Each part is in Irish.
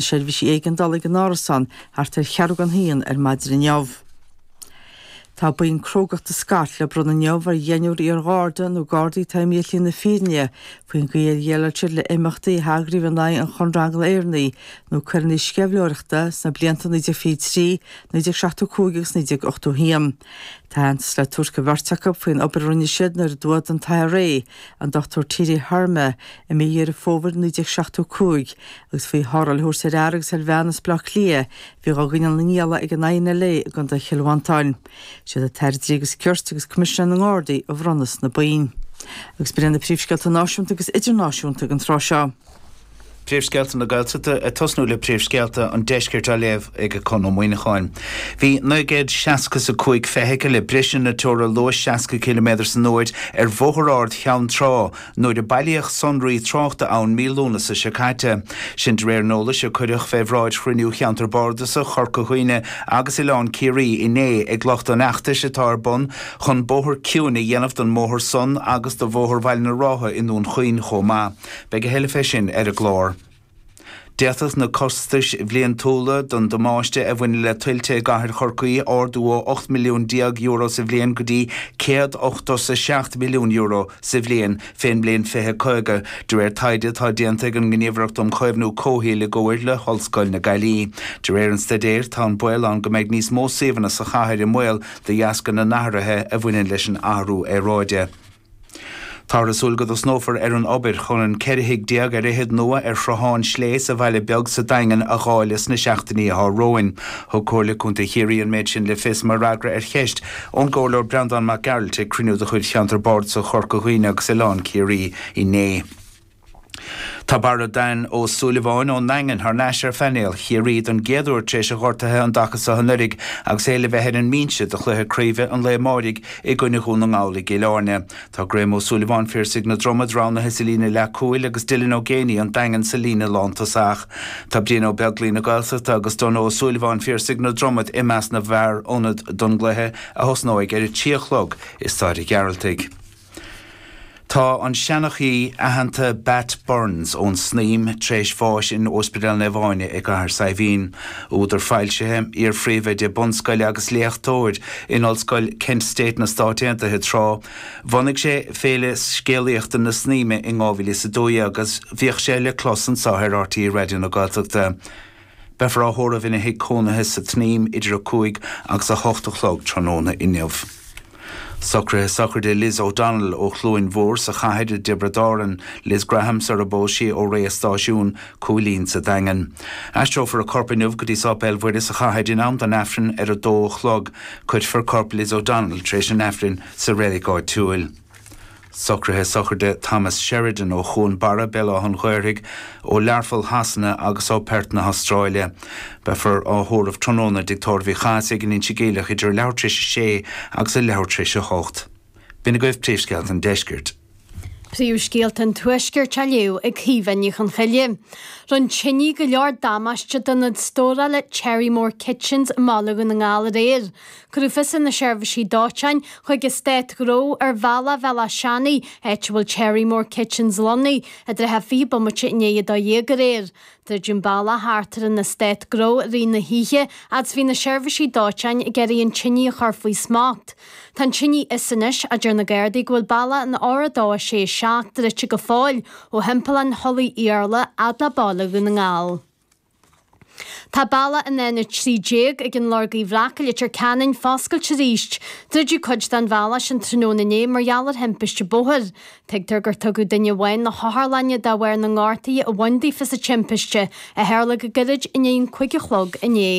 Seirbhísí Éigeandála ag an árasán thart ar cheathrú don haon ar maidin inniu. Tá boinn crógachta Scott le bronnadh inniu ar dheichniúr iar-gharda nó gardaí atá imithe ar shlí na fírinne faoin gcaoi ar dhéileáil siad le imeachtaí a heagraíodh in aghaidh an Chonradh Angla-Éireannaigh nó coireanna sceimhlitheoireachta sna blianta 1923, 1975 agus 1981. Tá aitheantas le tabhairt do bheirt acu faoin obair a rinne siad nuair a dtuath don IRA an Dr T.D. Harmer i mí Dheireadh Fómhair 1975 agus faoi tharrtháil a thabhairt ar fhear agus ar bhean as Baile Átha Cliath a bhí dhá gcoinneáil ina ngialla ag an INLA i gContae Chill Mhantáin. Siad an tAire Dlí agus Cirt agus Coimisinéir na nGardaí a bhronnfas na boinn. Agus b'in iad na príomhscéalta náisiúnta agus idirnáisiúnta ag an tráth seo. Príomhscéalta na Gaeltachta, ag tosnú le príomhscéalta an Deiscirt á léamh ag Conn Ó Muíneacháin. Bhí 965 feithicil ag briseadh na teora luais 60 ciliméadar san uair ar Bhóthar Ard Cheann Trá nuair a bailíodh sonraí tráchta ann mí Lúnasa seo caite. Sin de réir an eolais a cuireadh fé bhráid chruinniú Cheantar Bardasach Chorca Dhuibhne agus Oileán Ciarraí inné ag lucht an fheachtais atá ar bun chun bóthar ciúin a dhéanamh don mbóthar san agus do Bhóthar Bhaile na Rátha i nDún Chaoin chomh maith. Beidh a thuilleadh fé sin ar an gclár. D'fhéadfadh na costais bhliantúla don damáiste a bhaineann le tuilte i gcathair Chorcaí ardú ó €18 milliún sa bhliain go dtí €187 milliún sa bhliain fén mbliain 2050, de réir taighde atá déanta ag an nGníomhaireacht um Chaomhnú Comhshaoil i gcomhair le hOllscoil na Gaillimhe. De réir an staidéir, tá an baol ann go mbeidh níos mó suíomhanna sa chathair i mbaol de dheasca na n-athruithe a bhaineann leis an athrú aeráide. Táthar ag súil go dtosnófar ar an obair chun an 14 thigh ar fhichead nua ar Shruthán Slé sa Bhaile Beag sa Daingean a dháileadh sna seachtainí atá romhainn. Thug Comhairle Contae Chiarraí an méid sin le fios mar fhreagra ar cheist ón gComhairleoir Breandán Mac Gearailt ag cruinniú de chuid Cheantar Bardasach Chorca Dhuibhne agus Oileán Ciarraí inné. Tá Barra Dan Ó Súilleabháin ón nDaingean thar n-ais ar phainéal Chiarraí don gcéad uair tar éis a ghortaithe an dtaca seo anuraidh agus é le bheith ar an mbinse do chluiche craoibhe an lae amáirigh i gcoinne Dhún na nGall i gCill Airne. Tá Graham Ó Súilleabháin, Phiarsaigh na Dromad, roghnaithe sa líne leathchúil agus Dylan Ó Géibheannaigh, An Daingean, sa líne lántosach. Tá Brian Ó Beaglaoi na Gaeltachta agus Donogh Ó Súilleabháin, Phiarsaigh na Dromad, i measc na bhfear ionad don gcluiche a thosnóidh ar a 3 a chlog i Staid an Ghearaltaigh. Tá an seanchaí aitheanta Bat Burns ón Snaidhm tar éis bháis in Ospidéal Naomh Áine i gCathair Saidhbhín. Údar foilsithe, iar-phríomhoide bunscoile agus léachtóir in Ollscoil Kent State na Stáit Aontaithe tráth, bhunaigh sé Féile Scéalaíochta na Snaidhme in 2012 agus bhíodh sé le clos anseo ar RTÉ Raidió na Gaeltachta. Beifear á thórramh ina thigh cónaithe sa tSnaidhm idir 5 agus 8 a chlog tráthnóna inniu. Socruithe sochraide Liz O'Donnell ó Chluain Mhór sa chathair i dTiobraid Árann, Liz Graham sar a bpós sí ó Rae a' Stáisiúin, Cúilín sa Daingean. Aistreofar a corp inniu go dtí Sáipéal Mhuire sa chathair in am don Aifreann ar a dó a chlog. Cuirfear corp Liz O'Donnell tar éis an Aifrinn sa reilig áitiúil. Socruithe sochraide Thomas Sheridan ó Chuan Barra, Béal Átha an Ghaorthaidh, ó Learpholl Shasana agus ó Perth na hAstráile. Beifear á thórramh tráthnóna i dTigh Tórraimh Uí Chathasaigh in Inse Geimhleach idir a leathuair tar éis a sé agus a leathuair tar éis a hocht. B'in agaibh príomhscéalta an deiscirt. Príomhscéalta an Tuaiscirt á léamh ag Caoimhe Ní Chonchoille. Rinne tine go leor damáiste d'ionad stórála Cherrymore Kitchens i mBaile Dhún na nGall aréir. Cuireadh fios ar na seirbhísí dóiteáin chuig eastát gnó ar Bhealach Bhéal Átha Seanaidh, áit a bhfuil Cherrymore Kitchens lonnaithe, i dtrátha 20 bomaite i ndiaidh 12 aréir. Druideadh an bealach thart ar an eastát gnó i rith na hoíche fhad is bhí na seirbhísí dóiteáin ag iarraidh an tine a chur faoi smacht. Tá an tine iosta anois, ach deir na Gardaí go bhfuil bealach an R267 druidte go fóill ó thimpeallán Thulaigh Iarla fhad le Baile Dhún na nGall. Tá bealach an N13 ag an Lorg Uí Bhreac i Leitir Ceanainn foscailte arís. Druideadh cuid den bhealach sin tráthnóna inné mar gheall ar thimpiste bóthair. Tuigtear gur tugadh duine amháin na hotharlainne de bharr na ngortuithe a bhain daofa sa timpiste, a tharla go gairid i ndiaidh an 5 a chlog inné.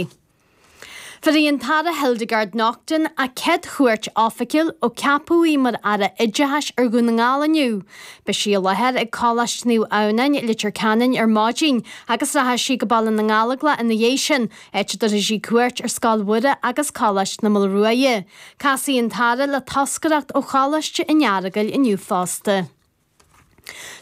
Bhéarfaidh an tAire Hildegarde Naughton a céad chuairt oifigiúil ó ceapadh í mar Aire Oideachais ar Dhún na nGall inniu. Beidh sí i láthair ag Coláiste Naomh Adhamhnáin i Leitir Ceanainn ar maidin agus rachaidh sí go Baile na nGallóglach ina dhiaidh sin, áit a dtabharfaidh sí cuairt ar Scoil Mhuire agus Coláiste na Maoile Ruaidhe. Casfaidh an tAire le toscaireacht ó Choláiste an Earagail inniu fosta.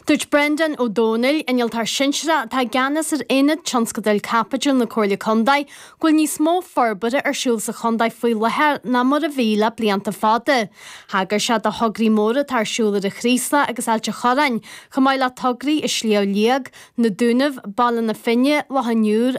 Dúirt Breandán Ó Domhnaill, Innealtóir Sinsearach atá i gceannas ar Aonad Tionscadail Caipitil na Comhairle Contae, go bhfuil níos mó forbartha ar siúl sa chontae faoi láthair ná mar a bhí le blianta fada. Thagair sé do thograí móra atá ar siúl ar an Chraoslach agus Ailt an Chorráin, chomh maith le tograí i Sliabh Liag, Na Dúnaibh, Baile na Finne, Loch an Iúir.